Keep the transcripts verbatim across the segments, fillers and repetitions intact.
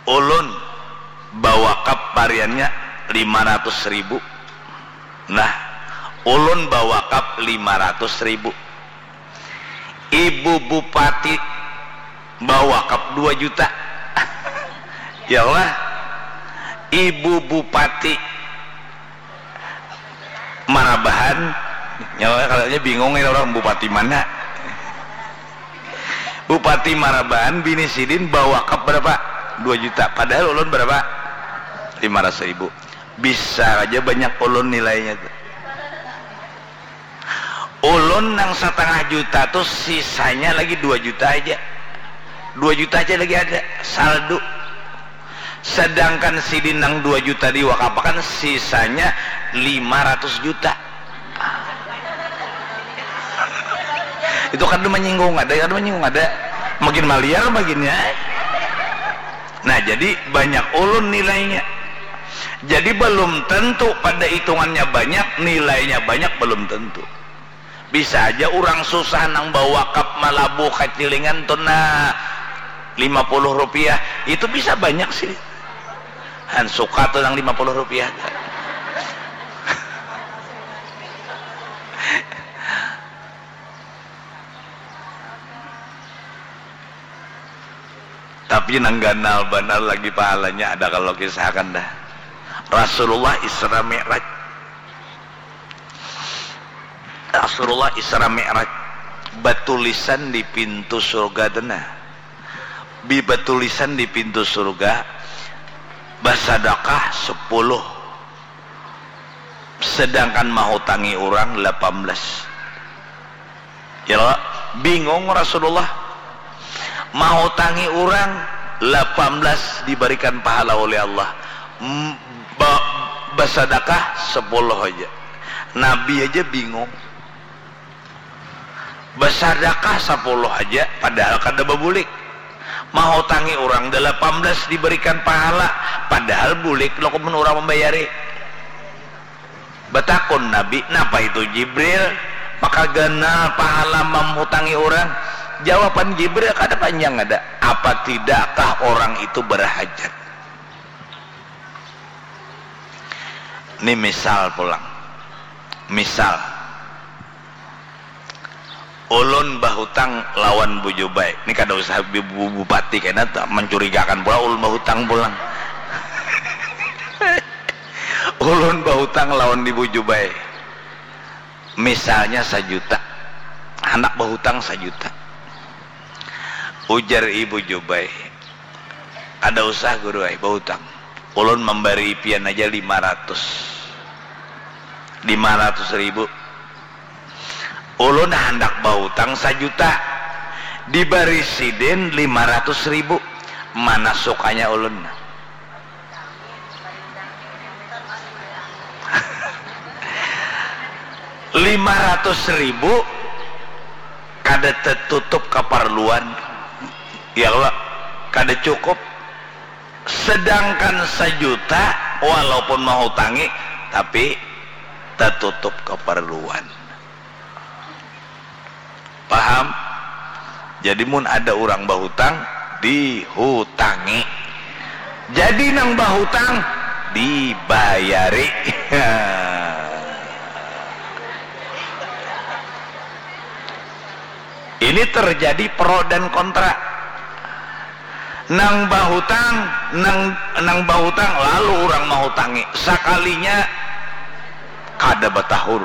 Ulun bawakap pariannya lima ratus ribu. Nah, ulun bawakap lima ratus ribu. Ibu Bupati bawakap dua juta. Ya Allah, Ibu Bupati Marabahan, nyawa kalinya bingung ini orang bupati mana. Bupati Marabahan, bini sidin bawakap berapa? Dua juta. Padahal ulun berapa? Lima ratus ribu. Bisa aja banyak ulun nilainya tuh. Ulun nang setengah juta tuh sisanya lagi dua juta aja. Dua juta aja lagi ada saldo. Sedangkan sidin nang dua juta diwakapakan, sisanya lima ratus juta. Itu kada menyinggung ada, kada menyinggung ada. Makin maliar baginnya. Nah, jadi banyak ulun nilainya. Jadi belum tentu pada hitungannya banyak, nilainya banyak, belum tentu. Bisa aja orang susah nang bawakap malabuh kacilingan tuh nah lima puluh rupiah, itu bisa banyak sih. Han suka tuh nang lima puluh rupiah. Tapi nang ganal banar lagi pahalanya ada kalau kisahkan dah. Rasulullah Isra Mi'raj. Rasulullah Isra Mi'raj batulisan di pintu surga tu nah. Bi-, batulisan di pintu surga, basadakah sepuluh, sedangkan mahutangi urang lapan belas. Ya Allah, bingung Rasulullah. Mahutangi urang lapan belas dibarikan pahala oleh Allah. M-, ba-, basadakah sepuluh aja. Nabi aja bingung. Basadakah sapuluh haja, padahal kada babulik. Mahutangi urang dalapan belas dibarikan pahala, padahal bulik lo kumun urang mambayari. Batakun Nabi, "Napa itu Jibril? Maka ganal pahala mamutangi urang?" Jawaban Jibril kada panjang ada, "Apa tidakkah orang itu barahajat?" Ni misal pulang. Misal. Ulun bahutang lawan Bu Jubai. Ni kada usah bi-, bu-, bupati kena ta-, mancurigakan pula ulun bahutang pulang. Ulun bahutang lawan Ibu Jubai. Misalnya sajuta. Handak bahutang sajuta. Ujar Ibu Jubai, "Kada usah, Guru ai, bahutang. Ulun mambarii pian aja lima ratus. Lima ratus ribu. Ulun handak bahutang sajuta. Dibari sidin lima ratus ribu. Mana sukanya ulun?" Lima ratus ribu kada tetutup kaparluan. Ya Allah, kada cukup. Sedangkan sajuta, walaupun mahutangi, tapi tatutup kaparluan. Paham? Jadi mun ada urang bahutang, dihutangi. Jadi nang bahutang, dibayari. Ini terjadi pro dan kontra. Nang bahutang, nang, nang bahutang, lalu urang mahutangi. Sakalinya kada batahur.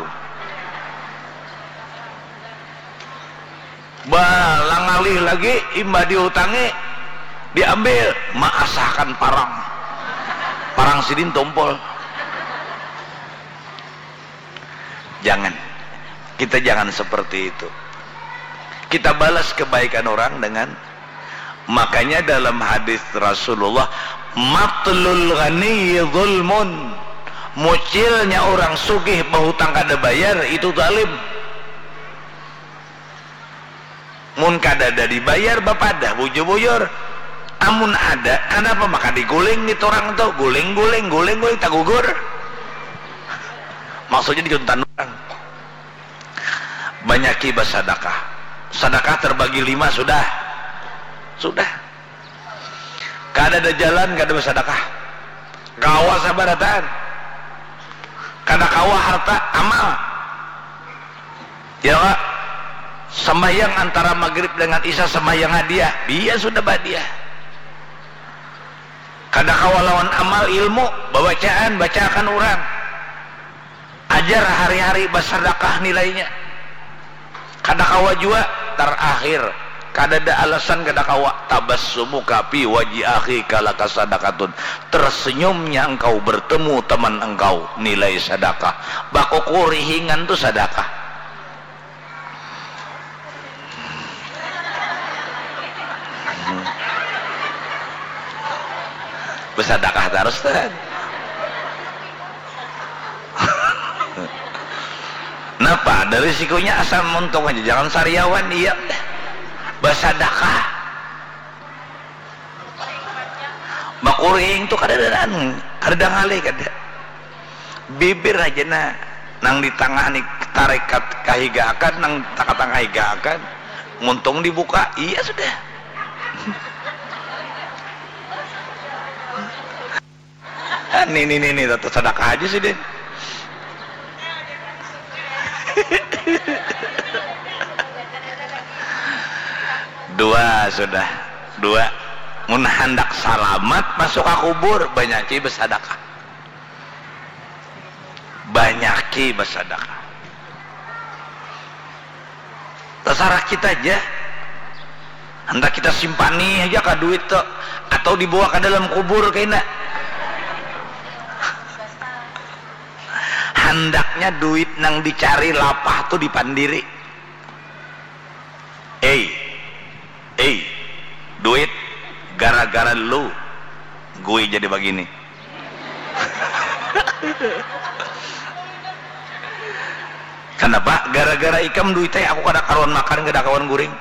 Balang ngalih lagi, imbah dihutangi, diambil, maasahakan parang. Parang sidin tumpul. Jangan. Kita jangan seperti itu. Kita balas kebaikan orang dengan, makanya dalam hadis Rasulullah, "Matlul ghaniyyi zulmun." Mucilnya orang sugih bahutang kada bayar, itu zalim. Mun kadada dibayar, bapadah bujur-bujur. Amun ada, kanapa maka diguling itu orang tu? Guling, guling, guling, guling, tagugur. Maksudnya dicuntan orang. Banyaki basadakah. Sadakah terbagi lima sudah? Sudah. Ka Kada ada jalan kada bersadakah. Kawa sabar atan. Kada kawa harta amal. Ya kak. Sembahyang antara maghrib dengan isya sembahyang hadiah. Dia sudah bahagia. Kada kawa lawan amal ilmu, bawacaan, bacaakan orang. Ajar hari-hari basadakah nilainya. Kada kawa jua, tarakhir, kadada alasan kada kawa, tabassumuka fi wajhi akhika laka sadaqatun, tersenyumnya engkau bertemu teman engkau nilai sadakah. Bakukurihingan tu sadakah. Besadakah tarus tuh. Napa ada risikonya, asal muntung aja, jangan sariawan. Iya, besadakah. Bakuring tu kada ada anu, kada ada ngalih kada. Bibir aja nah, nang di tangah ni tarekat kahigaakan, nang takatang kahigaakan. Muntung dibuka, iya sudah. Ah, ni ni ni ni, tata sadakah aja sih deh. Dua sudah, dua. Mun handak salamat masuk ka kubur, banyaki basadakah. Banyaki basadakah. Tasarah kita aja. Handak kita simpani aja ka duit tu, atau dibawa ka dalam kubur kaina. Handaknya duit nang dicari lapah tu dipandiri. Ei, ei, duit, gara-gara lu gui jadi bagini. Kanapa? Gara-gara ikam duit ai aku kada karuan makan, kada karuan guring.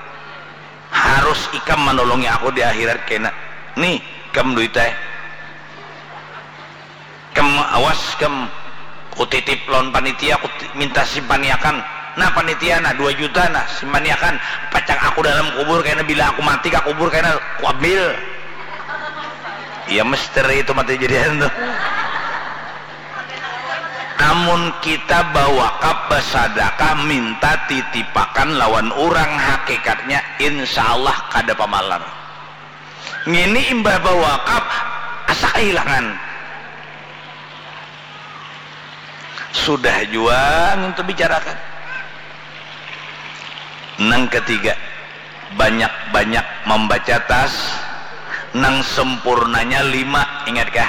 Harus ikam manolongi aku di akhirat kena. Nih, ikam duit ai. Kam awas kam, kutitip lawan panitia, ku minta simpaniakan. Nah panitia, nah dua juta nah simpaniakan, pacak aku dalam kubur kena, bila aku mati ka kubur kena kuambil. Iya misteri itu mati jadian tuh. Amun kita bawakaf basadakah minta titipakan lawan urang, hakikatnya insya Allah kada pamalar. Ngini imbah bawakaf asa kahilangan. Sudah jua ngintu bicarakan. Nang ketiga, banyak-banyak mambaca tas. Nang sempurnanya lima, ingatkah?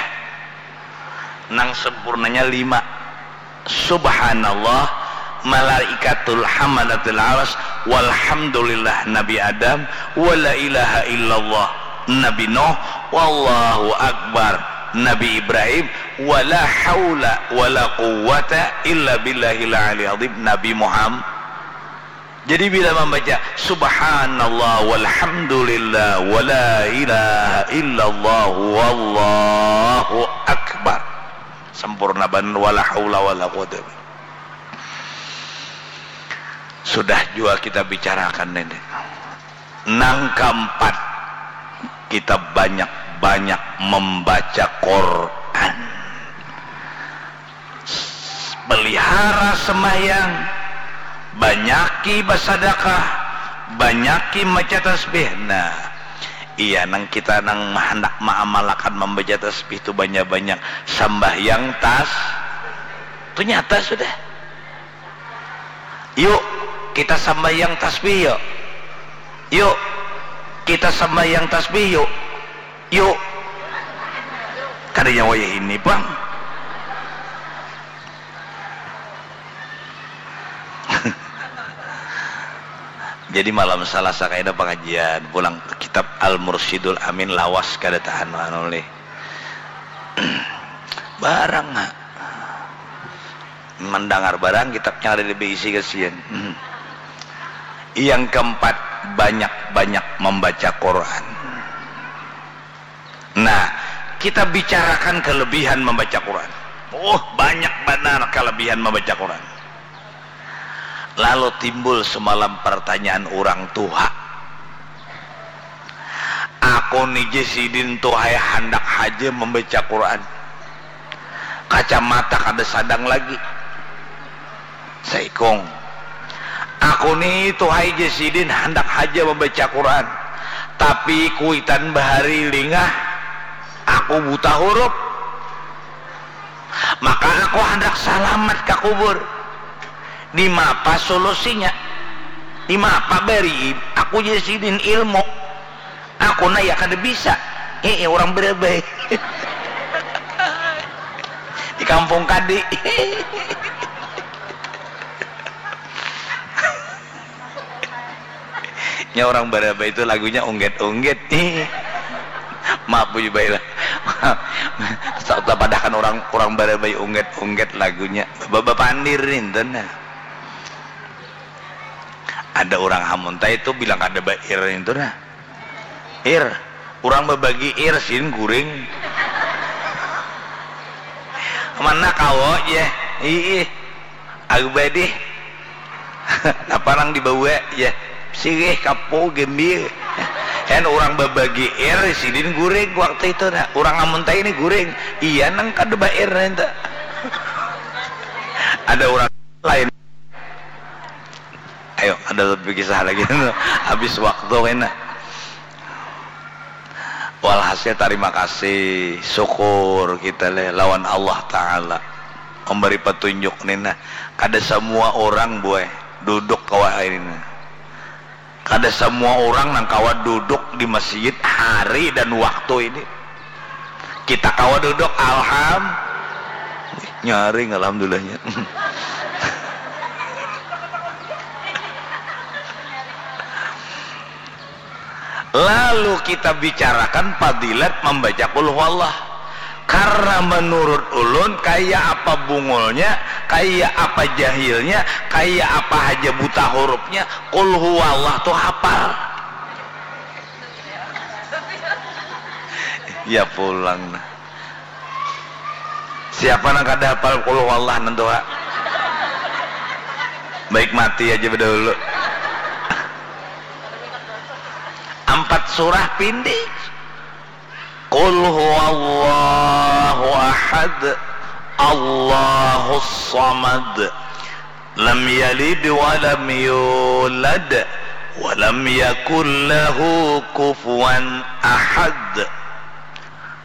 Nang sempurnanya lima. Subhanallah, malaikatul hamalatil aras, walhamdulillah Nabi Adam, wala ilaha illallah Nabi Nuh, wallahu akbar Nabi Ibrahim, wala haula wala quwwata illa billahil aliyil azim Nabi Muhammad. Jadi bila mambaca subhanallah walhamdulillah wala ilaha illallah wallahu akbar, sempurna banar, wala haula wala quwwata. Sudah jua kita bicarakan ini. Nang kaampat, kita banyak-banyak mambaca Quran. Pelihara sembahyang, banyaki basadakah, banyaki maca tasbih. Nah, iya nang kita nang handak maamalakan mambaca tasbih tu banyak-banyak. Sambahyang tas tu nyata sudah. Yuk, kita sambahyang tasbih yuk. Yuk, kita sambahyang tasbih yuk. Yuk. Kada nyawa ya ini pang. Jadi malam Salasa kaina pengajian pulang kitab Al Mursyidul Amin, lawas kada tahan anu lih. Barang ha. Mendangar barang kitabnya ada di B I C kasihan. Hmm. Yang keempat, banyak-banyak membaca Quran. Nah, kita bicarakan kelebihan membaca Quran. Oh, banyak benar kelebihan membaca Quran. Lalu timbul semalam pertanyaan orang tua. Aku Aku ni ja sidin tuh hai handak haja mambaca Quran. Kacamata kada sadang lagi. Saikung. Aku ni tuh hai ja sidin handak haja mambaca Quran. Tapi kuitan bahari lingah, aku buta hurup. Maka aku handak salamat ka kubur. Dimapa solusinya? Dimapa bari aku ja sidin ilmu? Aku naya kada bisa. Hehe, urang barabai. Di kampung kadi. Nya urang barabai itu lagunya ungget-ungget. Maaf, Bu Jubaila. Sa-, tapadahakan urang, urang barabai ungget-ungget lagunya. Ba-, bapandir nintu nah. Ada urang Hamuntai itu bilang kada bair nintu nah. Ir, urang babagi ir, sin guring. Mana kawo, jar. Iih. Agu badih. Napa nang dibawa, jar. Sirih, kapu, gambir. Kan urang babagi ir, sidin guring waktu itu nah. Urang Hamuntai ni guring. Iya nang kada bair nintu. Ada urang lain. Ayo, ada lebih kisah lagi. Habis waktu kena. Walhasil, tarima kasih, syukur kita leh lawan Allah Ta'ala memberi petunjuk ni nah. Kada semua orang, buai, duduk kawa ini nah. Kada semua orang nang kawa duduk di masjid hari dan waktu ini. Kita kawa duduk, alham-, nyaring, alhamdulillahnya. Lalu kita bicarakan fadilat membaca Qul Huwallah. Karena menurut ulun, kaya apa bungulnya, kaya apa jahilnya, kaya apa haja buta hurufnya, Qul Huwallah tu hapal. Ya pulang nah. Siapa nang kada hapal Qul Huwallah nantua? Baik mati aja bedahulu. Ampat surah pindik. Qul huwallahu ahad, Allahus samad, lam yalid wa lam yulad, wa lam yakul lahu kufuwan ahad.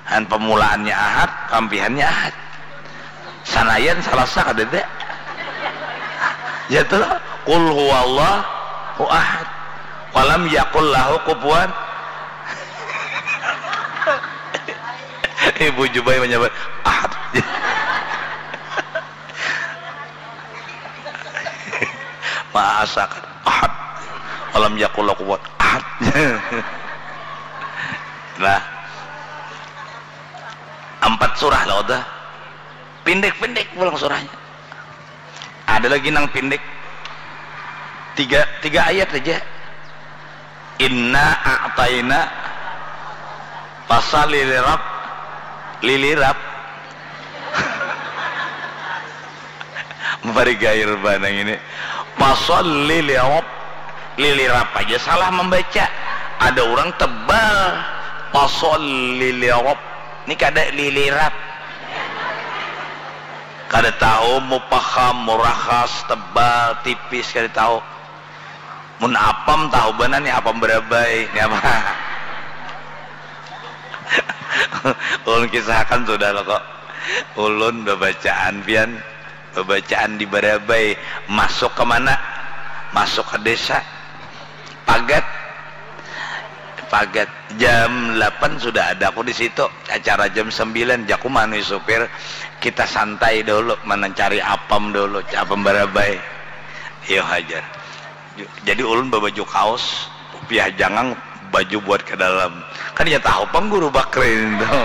Han pemulaannya ahad, pampihannya ahad. Sanayan Salasa kadada. Ya tu lah. Qul huwallahu ahad. Walam yakul lahu kufuwan. Ibu Jubai menyebut ahad. Maasakan ahad. Walam yakul lahu kufuwan ahad. Nah. Ampat surah lah udah. Pindik-pindik pulang surahnya. Ada lagi nang pindik. Tiga, tiga ayat aja. Inna a'taina pasal lilirap, lilirap. Bari gair banang ini. Pasalli li Rabb. Lilirap aja salah membaca. Ada orang tebal. Pasalli li Rabb. Ini kada lilirap. Kada tahu mupaham, murakhas, tebal, tipis, kada tahu. Mun apam tahu banar ni, apam barabai ni apa. Ulun kisahkan sudah lo kok. Ulun babacaan pian, babacaan di barabai, masuk ke mana? Masuk ke desa. Pagat. Pagat. Jam delapan sudah ada aku di situ. Acara jam sembilan, jaku manui supir, kita santai dahulu, mana cari apam dahulu, apam barabai. Iyo hajar. Jadi ulun babaju kaos, kupiah jangang, baju buat ke dalam. Kan inya tahu pang guru Bakrin tu.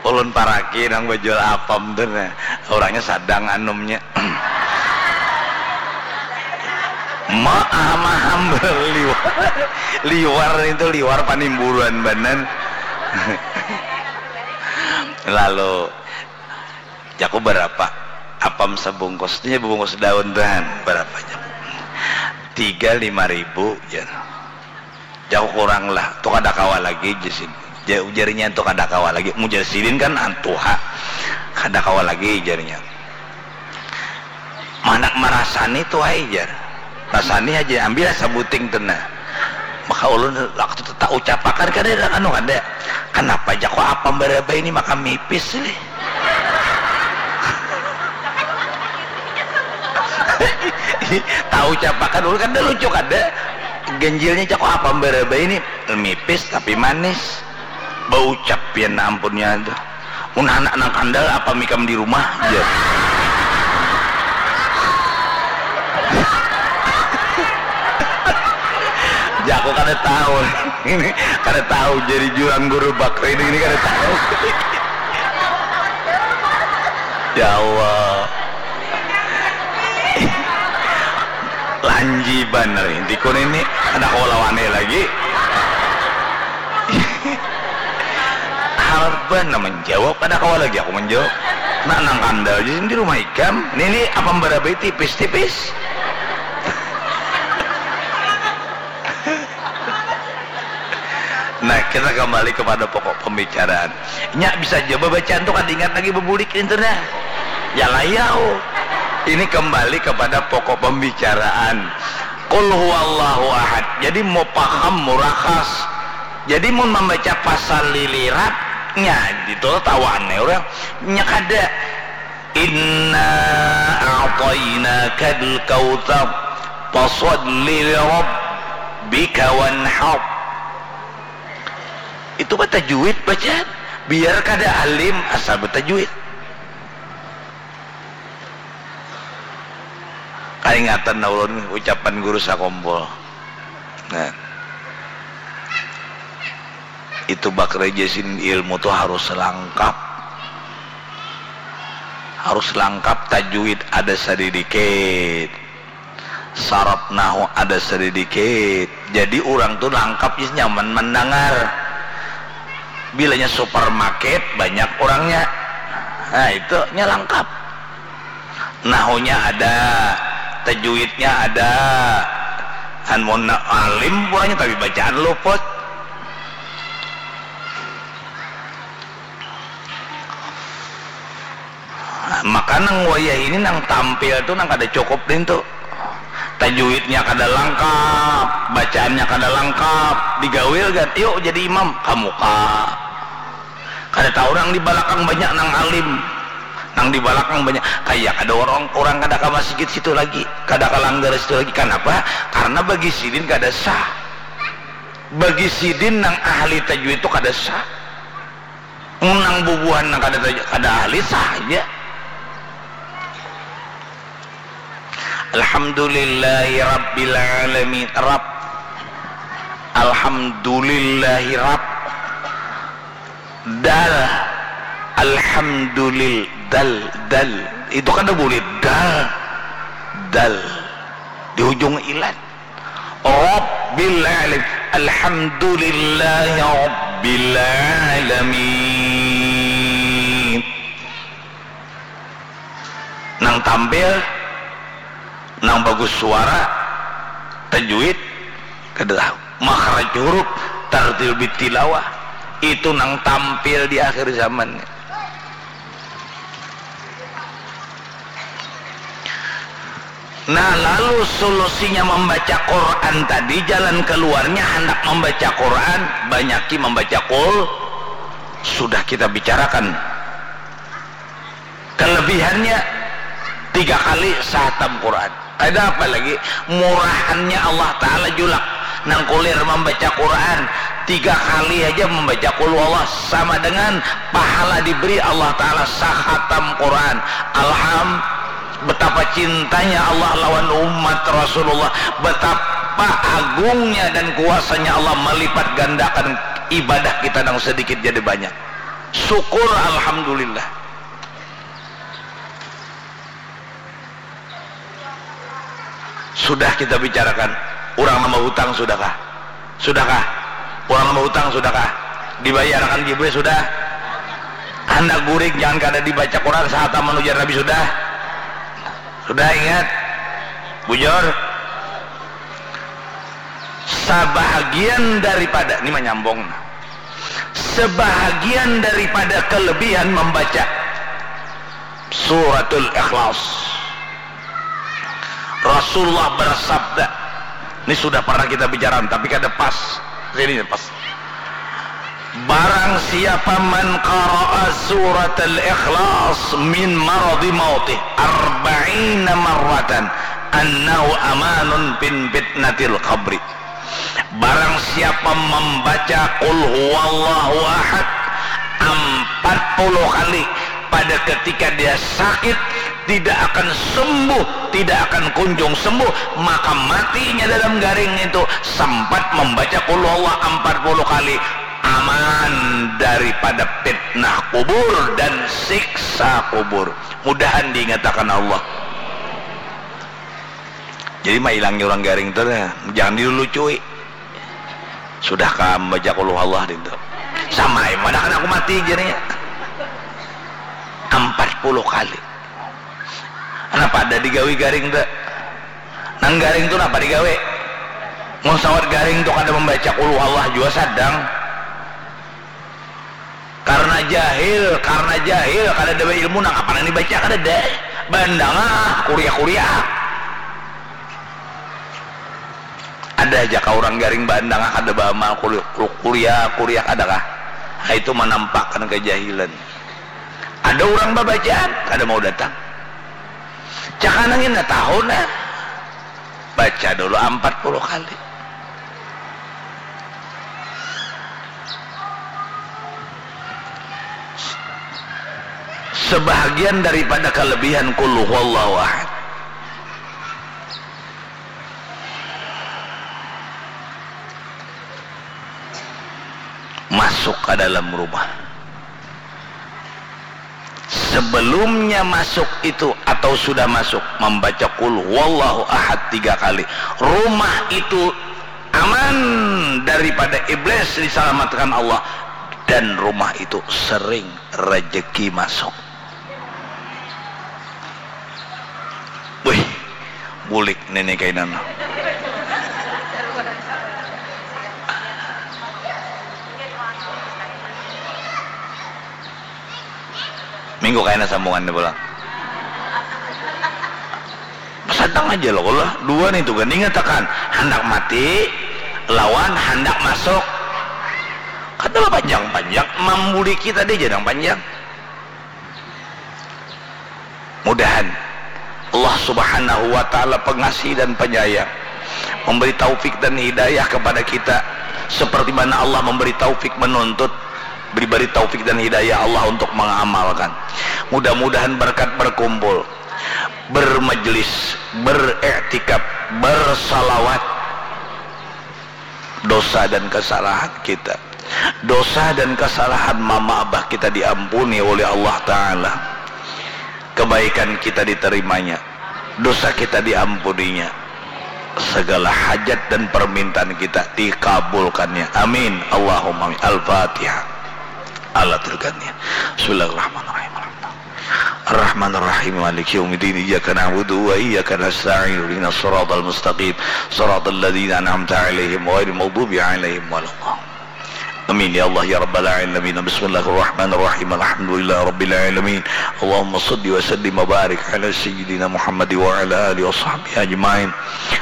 Ulun paraki nang bajual apam tu nah. Orangnya sadang anumnya. Maam-maam liwar. Liwar itu liwar panimburuan banar. Lalu, jaku, "Barapa apam sabungkus?" Nya babungkus daun tu han, "Barapa?" jaku. "Tiga lima ribu," jar. Jauh kurang lah, tu kada kawa lagi, jar sidin. Ja-, ujarnya tu kada kawa lagi. Mujar sidin kan antuha. Kada kawa lagi, ujarnya. Mana marasani tu ai, jar. Rasani aja, ambil sabuting tu nah. Maka ulun waktu tu taucapakan kada anu kada. Kenapa ja kok apam baraba ini maka mipis lih? Taucapakan ulun kada lucu kada. Ganjilnya ja kok apam baraba ini mipis tapi manis. Baucap pian ampunnya tu. Mun handak nang kandal apam ikam di rumah, jar. Jaku kada tahu. Ini kada tahu jadi jurang guru bakri ini, ini kada tahu. Ya Allah. Lanji banar inti kun ini, kada kawa lawannya lagi. Harban nah menjawab, kada kawa lagi aku menjawab. Nak nang kandal aja di rumah ikam. Nini apam barabai tipis-tipis. Nah, kita kembali kepada pokok pembicaraan. Nya bisa ja babacaan tu kada ingat lagi bebulik itu nah. Ya layau. Ini kembali kepada pokok pembicaraan. Qul huwallahu ahad. Jadi mau paham murakas. Jadi mun membaca pasal lilirat nya itu tawaan ya orang. Nya kada. Inna a'tainakal kautsar. Fasalli li rabbika wanhar. Itu mah tajwid bacaan. Biar kada alim asal batajwid. Kaingatan ulun ucapan guru sakompol. Nah. Itu bak rejesin ilmu tu harus langkap. Harus langkap, tajwid ada sadidikit. Saraf nahu ada sadidikit. Jadi urang tu langkap is nyaman mandangar. Bilanya supermarket banyak urangnya. Nah, itu nya langkap. Nahunya ada, tajwidnya ada. Han mun alim puanya tapi bacaan luput. Maka nang wayah ini nang tampil tu nang kada cukup nintu. Tajwidnya kada langkap, bacaannya kada langkap, digawil gin, yuk jadi imam, kamuka. Kada tahu nang di balakang banyak nang alim, nang di balakang banyak kaya kada orang, orang kada ka masjid situ lagi, kada ka langgar situ lagi. Kanapa? Karna bagi sidin kada sah. Bagi sidin nang ahli tajwid tu kada sah. Nang bubuhan nang kada, kada ahli sah haja. Alhamdulillahi rabbil alamin. Rab. Alhamdulillahi rab. Dal. Alhamdulil. Dal. Dal. Itu kada boleh. Dal. Dal. Di hujung ilat. Rabbil alamin. Alhamdulillahi rabbil alamin. Nang tampil, nang bagus suara, tajwid, kada tahu. Makhraj huruf, tartil bitilawah. Itu nang tampil di akhir zaman. Nah, lalu solusinya membaca Quran tadi, jalan keluarnya hendak membaca Quran, banyaki membaca Qul, sudah kita bicarakan. Kelebihannya, tiga kali sahatam Quran. Ada apa lagi? Murahannya Allah Ta'ala julak. Nang kulir membaca Quran, tiga kali aja membaca Qul Huwallah sama dengan pahala diberi Allah Ta'ala sahatam Quran. Alham, betapa cintanya Allah lawan umat Rasulullah, betapa agungnya dan kuasanya Allah melipat gandakan ibadah kita yang sedikit jadi banyak. Syukur, alhamdulillah. Sudah kita bicarakan, urang nambah hutang sudahkah? Sudahkah? Urang nambah hutang sudahkah? Dibayarakan giveaway sudah? Handak guring, jangan kada dibaca Quran, sahataman ujar Nabi sudah? Sudah ingat? Bujur? Sabahagian daripada, ini manyambung, sebahagian daripada kelebihan membaca Suratul Ikhlas. Rasulullah bersabda, ini sudah pernah kita bicara, tapi kada pas. Sini pas. Barang siapa man qara'a suratul ikhlas min maradi mautih arba'ina marratan annahu amanun bin fitnatil qabri. Barang siapa membaca Qul Huwallahu Ahad empat puluh kali pada ketika dia sakit, tidak akan sembuh, tidak akan kunjung sembuh, maka matinya dalam garing itu sempat membaca Qul Huwallah empat puluh kali, aman daripada fitnah kubur dan siksa kubur. Mudahan diingatakan Allah. Jadi mailangi urang garing tu, jangan dilulucui. Sudah kam baca Qul Huwallah dintu. Sama ai, mana kan aku mati, jarnya. Empat puluh kali. Napa ada digawi garing tu? Nang garing tu napa digawi? Mun sawat garing tu kada membaca Qul Huwallah jua sadang. Karena jahil, karena jahil, kada ada ilmu, nang apa nang dibaca kada ada. Bandang ah, kuliah-kuliah. Ada aja kah urang garing bandang ah, kada baamal, kuli-, kuliah-kuliah kada kah? Nah, itu manampakkan kejahilan. Ada urang babacaan, kada mau datang. Cakana ngini tahu nah. Baca dulu empat puluh kali. Sebahagian daripada kelebihan Qul Huwallahu Ahad masuk ke dalam rumah. Sebelumnya masuk itu atau sudah masuk, membaca Qul Huwallahu Ahad tiga kali, rumah itu aman daripada iblis, diselamatkan Allah, dan rumah itu sering rezeki masuk. Wih, bulik nini kainan. Minggu kaina sambungan ni pulang. Sadang aja lo lah, dua nih tuh kan, ingatakan, handak mati lawan handak masuk. Kada bapanjang-panjang, mambuliki tadi aja nang panjang. Mudahan Allah Subhanahu wa Ta'ala, pengasih dan penyayang, memberi taufik dan hidayah kepada kita, seperti mana Allah memberi taufik menuntut, diberi taufik dan hidayah Allah untuk mengamalkan. Mudah-mudahan berkat berkumpul, bermajlis, beriktikaf, bersalawat, dosa dan kesalahan kita, dosa dan kesalahan mama abah kita diampuni oleh Allah Ta'ala, kebaikan kita diterimanya, dosa kita diampuninya, segala hajat dan permintaan kita dikabulkannya. Amin, Allahumma amin. Al-Fatihah. Ala tilkania. Bismillahirrahmanirrahim. Alhamdulillah. Ar-Rahmanir Rahim. Maliki yaumiddin. Iyyaka na'budu wa iyyaka nasta'in. Ihdinas siratal mustaqim. Siratal ladzina an'amta 'alaihim ghairil maghdubi 'alaihim waladdallin. Amin ya Allah ya rabbal alamin. Bismillahirrahmanirrahim. Alhamdulillahirabbil alamin. Allahumma shalli wa sallim wa barik ala sayyidina Muhammad wa ala alihi wa sahbihi ajmain.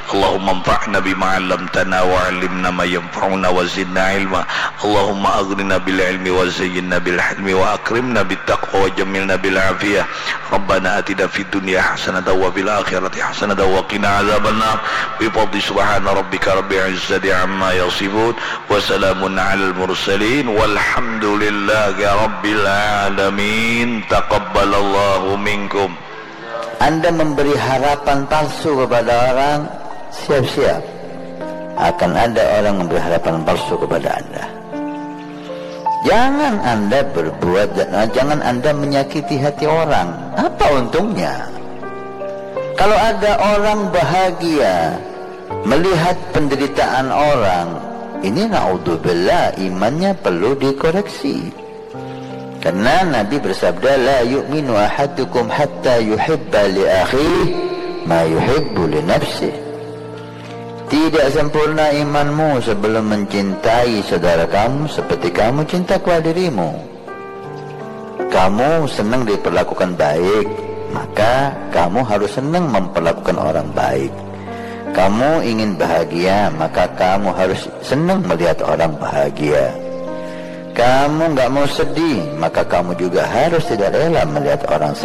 Allahumma anfa'na bima 'allamtana wa 'allimna ma yanfa'una wa zidna ilma. Allahumma aghnina bil ilmi wa zayyinna bil hilmi wa akrimna bit taqwa wa jammilna bil afiyah. Rabbana atina fid dunya hasanatan wa fil akhirati hasanatan wa qina adzabannar. Bi fadli subhana rabbika rabbil izzati amma yasifun. Wa salamun alal mursalin. Walhamdulillahi rabbil alamin. Taqabbalallahu minkum. Anda memberi harapan palsu kepada orang, siap-siap akan ada orang memberi harapan palsu kepada Anda. Jangan Anda berbuat dan jangan Anda menyakiti hati orang. Apa untungnya? Kalau ada orang bahagia melihat penderitaan orang, ini naudzubillah, imannya perlu dikoreksi. Karena Nabi bersabda, "La yu'minu ahadukum hatta yuhibba li akhihi ma yuhibbu li nafsihi." Tidak sempurna imanmu sebelum mencintai saudara kamu seperti kamu cinta kepada dirimu. Kamu senang diperlakukan baik, maka kamu harus senang memperlakukan orang baik. Kamu ingin bahagia, maka kamu harus senang melihat orang bahagia. Kamu nggak mau sedih, maka kamu juga harus tidak rela melihat orang